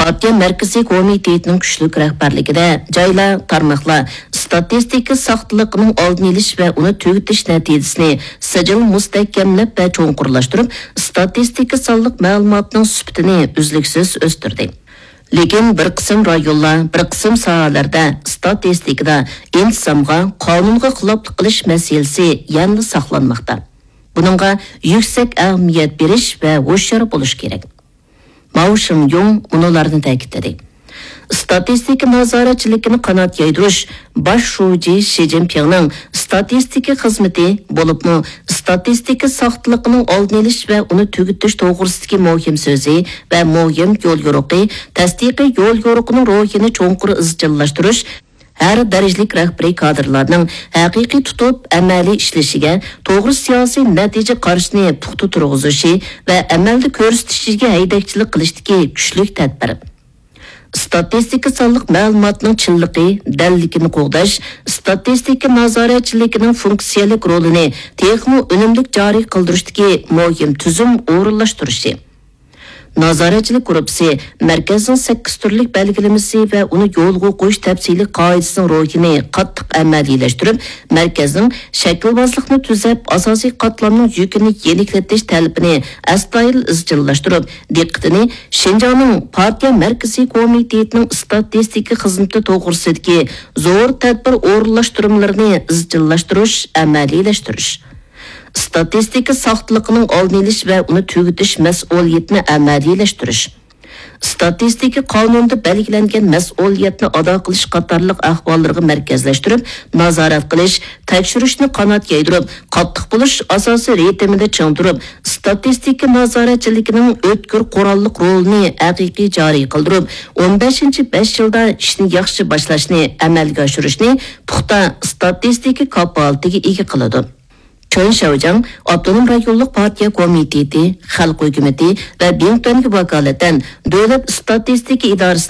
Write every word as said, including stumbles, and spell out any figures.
پارتىيە مەركىزىي كومىتېتىنىڭ كۈچلۈك رەھبەرلىكىدە جايلار، تارماقلار ئىستاتىستىكا ساختىلىقىنىڭ ئالدىنى ئېلىش ۋە ئۇنى تۈگىتىش نەتىجىسىنى سىجىل مۇستەھكەملەپ ۋە چوڭقۇرلاشتۇرۇپ، ئىستاتىستىكا سانلىق مەلۇماتنىڭ سۈپىتىنى ئۈزلۈكسىز ئۆستۈردى. لېكىن بىر قىسىم رايونلار، بىر قىسىم ساھەلەردە ئىستاتىستىكىدا ئىنتىزامغا، قانۇنغا خىلاپلىق قىلىش مەسىلىسى يەنىلا ساقلانماقتا. بۇنىڭغا يۈكسەك ئەھمىيەت بېرىش ۋە ھوشيار بولۇش كېرەك. ماۋ شېڭيۇڭ مۇنۇلارنى تەكىتلىدى: ئىستاتىستىكا نازارەتچىلىكىنى قانات يايدۇرۇش باش شۇجى شى جىنپىڭنىڭ ئىستاتىستىكا خىزمىتى، بولۇپمۇ ئىستاتىستىكا ساختىلىقىنىڭ ئالدىنى ئېلىش ۋە ئۇنى تۈگىتىش توغرىسىدىكى مۇھىم سۆزى ۋە مۇھىم يول يورۇقى، تەستىقىي يول يورۇقىنىڭ روھىنى چوڭقۇر ئىزچىللاشتۇرۇش، ھەر دەرىجىلىك رەھبىرىي كادىرلارنىڭ ھەقىقىي تۇتۇپ ئەمەلىي ئىشلىشىگە، توغرا سىياسىي نەتىجە قارىشىنى پۇختا تۇرغۇزۇشى ۋە ئەمەلدە كۆرسىتىشىگە ھەيدەكچىلىك قىلىشتىكى كۈچلۈك تەدبىر. ئىستاتىستىكا سانلىق مەلۇماتنىڭ چىنلىقى، دەللىكىنى قوغداش، ئىستاتىستىكا نازارەتچىلىكىنىڭ فۇنكسىيەلىك رولىنى تېخىمۇ ئۈنۈملۈك جارى قىلدۇرۇشتىكى مۇھىم تۈزۈم ئورۇنلاشتۇرۇشى. نازارەتچىلىك گۇرۇپپىسى مەركەزنىڭ سەككىز تۈرلۈك بەلگىلىمىسى ۋە ئۇنى يولغا قويۇش تەپسىلىي قائىدىسىنىڭ روھىنى قاتتىق ئەمەلىيلەشتۈرۈپ، مەركەزنىڭ شەكىلۋازلىقنى تۈزەپ، ئاساسىي قاتلامنىڭ يۈكىنى يېنىكلىتىش تەلىپىنى ئەستايىدىل ئىزچىللاشتۇرۇپ، دىققىتىنى شىنجاڭنىڭ پارتىيە مەركىزىي كومىتېتىنىڭ ئىستاتىستىكا خىزمىتى توغرىسىدىكى زور تەدبىر ئورۇنلاشتۇرمىلىرىنى ئىزچىللاشتۇرۇش، ئەمەلىيلەشتۈرۈش. ئىستاتىستىكا ساختىلىقىنىڭ ئالدىنى ئېلىش ۋە ئۇنى تۈگىتىش مەسئۇلىيىتىنى ئەمەلىيلەشتۈرۈش. ئىستاتىستىكا قانۇنىدا بەلگىلەنگەن مەسئۇلىيەتنى ئادا قىلىش قاتارلىق ئەھۋاللىرىغا مەركەزلەشتۈرۈپ، نازارەت قىلىش، تەكشۈرۈشنى قانات يايدۇرۇپ، قاتتىق بولۇش ئاساسىي رىتىمىدا چىڭ تۇرۇپ، ئىستاتىستىكا نازارەتچىلىكىنىڭ ئۆتكۈر قوراللىق رولىنى ھەقىقىي جارى قىلدۇرۇپ، ئون بەشىنچى بەش يىلدا ئىشنى ياخشى باشلاشنى ئەمەلگە ئاشۇرۇشنى پۇختا ئىستاتىستىكا كاپالىتىگە ئىگە قىلىدۇ. چېن شياۋجياڭ ئاپتونوم رايونلۇق پارتىيە كومىتېتى، خەلق ھۆكۈمىتى ۋە بىڭتۈەنگە ۋاكالىتەن دۆلەت ئىستاتىستىكا ئىدارىسى